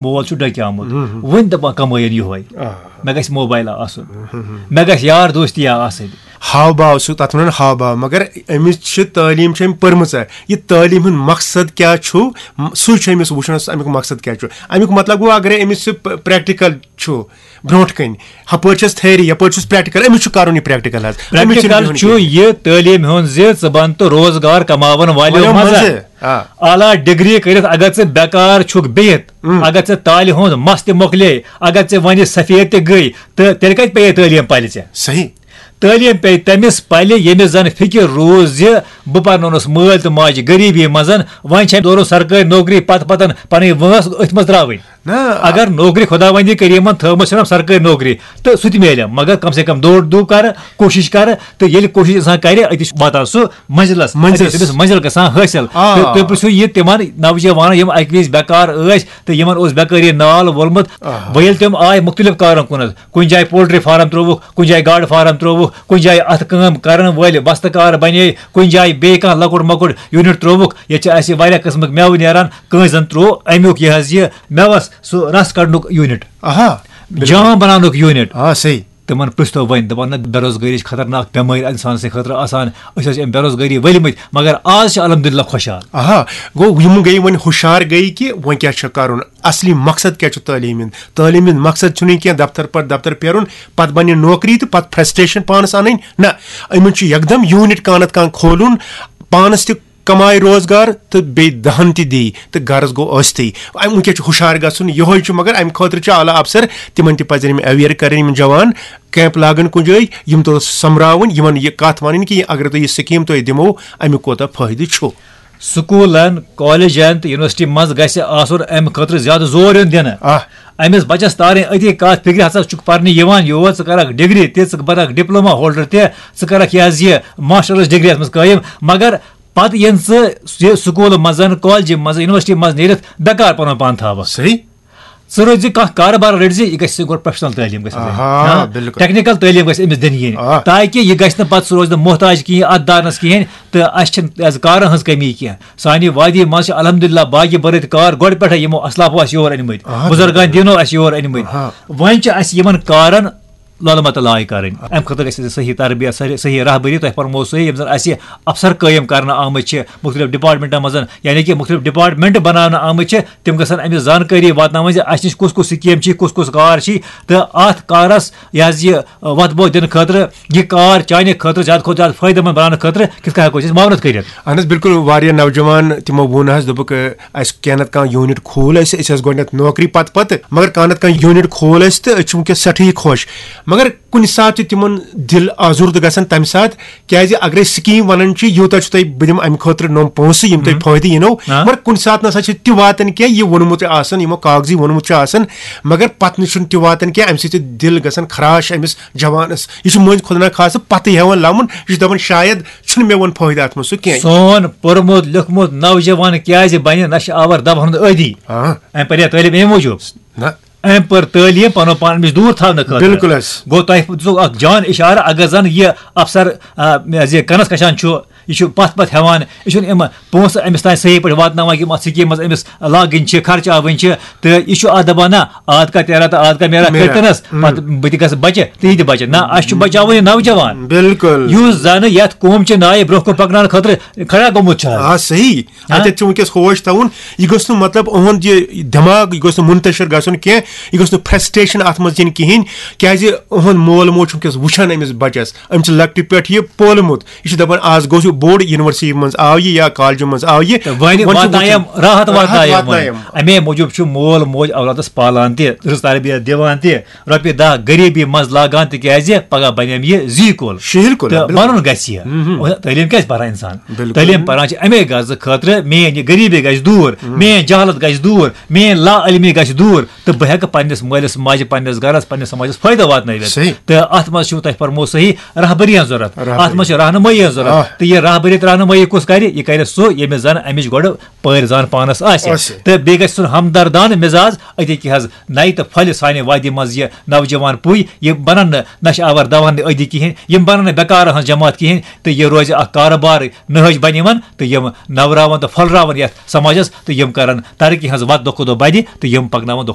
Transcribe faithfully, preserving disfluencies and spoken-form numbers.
مول چھُ ڈکیومُت، وۄنۍ دپان کمٲیِن یُہوے، مےٚ گژھِ موبایل آسُن، مےٚ گژھِ یار دوستی آسٕنۍ۔ ہاو باو، سُہ تتھ ونان ہاو باو، مگر أمِس چھِ تعلیٖم چھِ أمۍ پٔرمٕژ۔ یہِ تعلیٖم ہُنٛد مقصد کیٛاہ چھُ، م-، سُے چھُ أمِس وٕچھُن، امیُک مقصد کیٛاہ چھُ۔ امیُک مطلب گوٚو، اگرے أمِس سُہ پ-، پریکٹیکل چھُ برونٛٹھ کَنہِ، ہپٲرۍ چھَس تھیری، یپٲرۍ چھُس پریکٹیکل، أمِس چھُ کرُن یہِ پریکٹیکل حظ۔ أمِس چھُنہٕ پریکٹیکل بیٚہُن چھُ کِہیٖنۍ۔ یہِ تعلیٖم ہُنٛد زِ ژٕ بن تہٕ روزگار کماون والیو والیو منٛزٕ۔ منٛزٕ۔ آ۔ اعلیٰ ڈگری کٔرِتھ اگر ژٕ بیکار چھُکھ بِہِتھ، ہُم۔ اگر ژےٚ تالہِ ہُنٛد مس تہِ مۄکلے، اگر ژےٚ وۄنۍ سفید تہِ گٔے، تہٕ تیٚلہِ کتہِ پیٚیہِ تعلیٖم پلہِ ژےٚ؟ صحیح۔ تعلیٖم پیٚیہِ تٔمِس پلہِ، ییٚمِس زن فکر روٗز زِ بہٕ پرنوونس مٲلۍ تہٕ ماجہِ غریٖبی منٛز، وۄنۍ چھِ أمۍ دورُن سرکٲرۍ نوکری پتہٕ پتن پنٕنۍ وٲنٛس أتھۍ منٛز ترٛاوٕنۍ۔ نہ۔ اگر نوکری خداوندی کریمن تھٲومٕژ چھنم سرکٲرۍ نوکری، تہٕ سُہ تہِ میلہِ، مگر کم سے کم دورٕ دُو کرٕ، کوٗشش کرٕ، تہٕ ییٚلہِ کوٗشش انسان کرِ، أتی چھُ واتان سُہ منزلس، منزلس۔ أتی چھُ تٔمِس منزل گژھان حٲصِل۔ آ۔ تہٕ تُہۍ پرژھِو یہِ تِمن نوجوانن، یِم اکہِ وِزِ بیکار ٲسۍ تہٕ یِمن اوس بیکٲری نال وولمُت۔ آ۔ وۄنۍ ییٚلہِ تِم آے مُختٔلِف کارن کُنتھ، کُنہِ جایہِ پولٹری فارم ترٛووُکھ، کُنہِ جایہِ گاڈٕ فارم ترٛووُکھ، کُنہِ جایہِ اتھٕ کٲم کرن وٲلۍ بستہٕ کار بنے، کُنہِ جایہِ بیٚیہِ کانٛہہ لۄکُٹ مۄکُٹ یوٗنٹ ترٛووُکھ، ییٚتہِ چھِ اسہِ واریاہ قٕسمٕکۍ مٮ۪وٕ نیران، کٲنٛسہِ زن ترٛوو امیُک یہِ حظ یہِ مٮ۪وس سُہ رس کڑنُک یوٗنٹ، آہا، بِلکُل۔ جام بناونُک یوٗنٹ۔ آ، صحیح۔ تِمن پرژھتو وۄنۍ، دپان نہ، بے روزگٲری چھِ خطرناک بٮ۪مٲرۍ انسان سٕنٛدِ خٲطرٕ آسان، أسۍ ٲسۍ امہِ بے روزگٲری ؤلۍ مٕتۍ، مگر آز چھِ الحمدللہ خۄشحال۔ آہا، گوٚو یِم گٔے وۄنۍ ہُشار گٔے کہِ وۄنۍ کیٛاہ چھُ کرُن، اصلی مقصد کیٛاہ چھُ تعلیٖم ہُنٛد؟ تعلیٖم ہُنٛد مقصد چھُنہٕ یہِ کینٛہہ دفتر پتہٕ دفتر پھیرُن، پتہٕ بنہِ نوکری تہٕ پتہٕ فرسٹریشن پانس انٕنۍ، نہ، یِمن چھُ یکدم یوٗنٹ کانٛہہ نتہٕ کانٛہہ کھولُن، پانس تہِ کمایہِ روزگار تہٕ بیٚیہِ دہن تہِ دی تہٕ غرض گوٚو ٲستھٕے۔ اَمہِ وٕنکیٚس چھُ ہُشار گژھُن، یِہوٚے چھُ، مگر اَمہِ خٲطرٕ چھِ اعلیٰ افسر، تِمن تہِ پزن یِم اویئر کرٕنۍ، یِم جوان کیمپ لاگن کُنہِ جایہِ، یِم توٚتس سۄمبراوٕنۍ، یِمن یہِ کتھ ونٕنۍ کہِ اگر تُہۍ یہِ سکیٖم تۄہہِ دِمو، امیُک کوتاہ فٲیدٕ چھُ۔ سکوٗلن، کالجن تہٕ یونیورسٹی منٛز گژھِ آسُن اَمہِ خٲطرٕ زیادٕ زور یُن دِنہٕ۔ آ۔ أمِس بچس تارٕنۍ أتی کتھ فکرِ، ہسا چھُکھ پرنہِ یِوان یور، ژٕ کرکھ ڈگری تہِ، ژٕ بنکھ ڈپلوما ہولڈر تہِ، ژٕ کرکھ یہِ حظ یہِ ماسٹرس ڈگری یتھ منٛز قٲیِم، مگر پتہٕ ییٚلہِ ژٕ یہِ سکوٗلہٕ منٛز، کالجہِ منٛز، یونیورسٹی منٛز نیٖرِتھ بیکار پنُن پان تھاوکھ۔ صحیح۔ ژٕ رٔٹۍ زِ کانٛہہ کارٕبار رٔٹۍ زِ، یہِ گژھِ گۄڈٕ پروفیشنل تعلیٖم گژھِ آسٕنۍ۔ آہا، ہاں؟ بِلکُل۔ ٹیکنیکل تعلیٖم گژھِ أمِس دِنہٕ یِنۍ، آ۔ تاکہِ یہِ گژھِ نہٕ پتہٕ سُہ روزِ نہٕ محتاج کِہیٖنۍ، اتھ دارنس کِہیٖنۍ، تہٕ اسہِ چھِنہٕ از کارن ہٕنٛز کمی کینٛہہ۔ سانہِ وادی منٛز چھِ الحمدللہ باقی بٔرٕتۍ کار گۄڈٕ پٮ۪ٹھے یِمو اسلافو اسہِ یور أنۍ مٕتۍ، آہا۔ بُزرگان دیٖنو اسہِ یور أنۍ مٕتۍ۔ آہا۔ وۄنۍ چھِ اسہِ یِمن کارن لۄلہٕ متہٕ لاے کرٕنۍ۔ امہِ خٲطرٕ گژھِ اسہِ صحیح تربیت، صحیح، صحیح رہبری تۄہہِ فرموو صحیح، یِم زن اسہِ افسر قٲیِم کرنہٕ آمٕتۍ چھِ مُختٔلِف ڈپارٹمنٹن منٛز، یعنی کہِ مُختٔلِف ڈپارٹمنٹ بناونہٕ آمٕتۍ چھِ، تِم گژھن أمِس زانکٲری واتناوٕنۍ زِ اسہِ نِش کُس کُس سکیٖم چھِ، کُس کُس کار چھِ، تہٕ اتھ کارس یہِ حظ یہِ وتھ بوتھ دِنہٕ خٲطرٕ، یہِ کار چانہِ خٲطرٕ زیادٕ کھۄتہٕ زیادٕ فٲیدٕ مند بناونہٕ خٲطرٕ کِتھ کٔنۍ ہٮ۪کو أسۍ معاونت کٔرِتھ؟ اہن حظ، بِلکُل، واریاہ نوجوان تِمو ووٚن حظ، دوٚپُکھ، اَسہِ کینٛہہ نتہٕ کانٛہہ یوٗنٹ کھوٗل اَسہِ، أسۍ ٲسۍ گۄڈٕنٮ۪تھ نوکری پتہٕ پتہٕ، مگر کانٛہہ نتہٕ کانٛہہ یوٗنٹ کھوٗل اَسہِ تہٕ أسۍ چھِ وٕنکیٚس سٮ۪ٹھٕے خۄش۔ مگر کُنہِ ساتہٕ چھِ تِمن دِل آزُردٕ گژھان تَمہِ ساتہٕ، کیٛازِ اگرے سکیٖم ونان چھِ، یوٗتاہ چھُ تۄہہِ، بہٕ دِمہٕ اَمہِ خٲطرٕ نۄم پونٛسہٕ، یِم تۄہہِ ہاں۔ فٲیدٕ یِنو، ہاں۔ مگر کُنہِ ساتہٕ نسا چھِ تہِ واتان کینٛہہ، یہِ ووٚنمُت آسان، یِمو کاغذی ووٚنمُت چھُ آسان، مگر پتہٕ نہٕ چھُنہٕ تہِ واتان کینٛہہ، اَمہِ سۭتۍ چھِ دِل گژھان خراش أمِس جوانس۔ یہِ چھُ مٔنٛزۍ خۄدا نخواستہٕ پتہٕ ہٮ۪وان لمُن، یہِ چھُ دپان شاید چھُنہٕ مےٚ وۄنۍ فٲیدٕ اتھ منٛز سُہ کینٛہہ۔ سون پوٚرمُت لیوٚکھمُت نوجوان کیٛازِ بنہِ نشہٕ آور دواہن ہُنٛد عٲدی؟ آ۔ أمۍ پرے تعلیٖم اَمہِ موٗجوٗب۔ نہ۔ أمۍ پٔر تعلیٖم پنُن پان أمِس دوٗر تھاونہٕ خٲطرٕ۔ بِلکُل حظ۔ گوٚو تۄہہِ دِژوٕ اکھ جان اشارٕ، اگر زن یہِ افسر، آ، یہِ کنس کشان چھُ، یہِ چھُ پتھ پتھ ہٮ۪وان، یہِ چھُنہٕ یِم پونٛسہٕ أمِس تام صحیح پٲٹھۍ واتناوان، یِم اتھ سکیٖم منٛز أمِس لاگٕنۍ چھِ، خرچاوٕنۍ چھِ، تہٕ یہِ چھُ اتھ دپان، نہ، آد کا تیرا تہٕ آد کا میرا میرا۔ کٔرتنس، ہم۔ پتہٕ بہٕ تہِ گژھٕ بچہِ، تہٕ یہِ تہِ بچہِ۔ نہ، اسہِ چھُ بچاوُن یہِ نوجوان۔ بِلکُل۔ یُس زن یتھ قوم چہِ نایہِ برونٛہہ کُن پکناونہٕ خٲطرٕ کھڑا گوٚمُت چھُ حظ۔ آ، صحیح۔ ہاں۔ اتٮ۪تھ چھُ وٕنکیٚس ہوش تھاوُن، یہِ گوٚژھ نہٕ، مطلب، اُہُنٛد یہِ دٮ۪ماغ، یہِ گوٚژھ نہٕ منتشر گژھُن کینٛہہ، یہِ گوٚژھ نہٕ فرسٹریشن اتھ منٛز یِنۍ کِہیٖنۍ، کیٛازِ اُہُنٛد مول موج چھُ وٕنکیٚس وٕچھان أمِس بچس، أمۍ چھُ لۄکٹہِ پٮ۪ٹھ یہِ پولمُت، یہِ چھُ دپان، آز گوٚو یہِ بوٚڑ، یونیورسٹی منٛز آو یہِ یا کالجہِ منٛز آو یہِ، تہٕ وۄنۍ وۄنۍ چھُ واتنایم، وٕچھُن۔ راحت راحت واتنایم وۄنۍ۔ واتنایم۔ امے موٗجوٗب چھُ مول موج اولادس پالان تہِ، رٕژ تربیت دِوان تہِ، رۄپیہِ دَہ غریٖبی منٛز لاگان، تِکیٛازِ پگاہ بنٮ۪م یہِ زی کُل۔ شِہِل کُل، تہٕ بِلکُل۔ بَنُن گژھِ یہِ۔ مہم۔ تعلیٖم کیٛازِ پَران اِنسان؟ بِلکُل۔ تعلیٖم پَران چھِ اَمے غرضہٕ خٲطرٕ، میٛٲنۍ یہِ غریٖبی گژھِ دوٗر، مہم۔ میٛٲنۍ جہالت گژھِ دوٗر، میٛٲنۍ لا علمی گژھِ دوٗر، تہٕ بہٕ ہٮ۪کہٕ پنٛنِس مٲلِس ماجہِ، پنٛنِس گَرَس، پنٛنِس سماجَس فٲیدٕ واتنٲوِتھ۔ صحیح۔ تہٕ اَتھ منٛز چھُو تۄہہِ فرموو صحیح رہبٔری ہٕنٛز ضوٚرَتھ۔ رہبٔری۔ اَتھ منٛز چھِ رہنمٲیی ہٕنٛز ضوٚرَتھ۔ آ۔ تہٕ یہِ رہبٔری تہٕ رہنمٲیی کُس کَرِ؟ یہِ کَرِ سُہ، ییٚمِس زَن اَمِچ گۄڈٕ پٲرۍ زان پانس آسہِ۔ آسہِ۔ تہٕ بیٚیہِ گژھِ سُن ہمدردانہٕ مِزاز، أتی کیٛاہ حظ نَیہِ تہٕ پھۄلہِ سانہِ وادی منٛز یہِ نوجوان پُے، یہِ بنن نہٕ نشہٕ آور دواہن ہٕنٛدۍ عٲدی کِہیٖنۍ، یِم بنن نہٕ بیکارن ہٕنٛز جماعت کِہیٖنۍ، تہٕ یہِ روزِ اکھ کارٕبار نہج بنہِ یِمن، تہٕ یِم نوراون تہٕ پھۄلراون یتھ سماجس، تہٕ یِم کرن ترقی ہٕنٛز وتھ دۄہ کھۄتہٕ دۄہ بدِ، تہٕ یِم پکناون دۄہ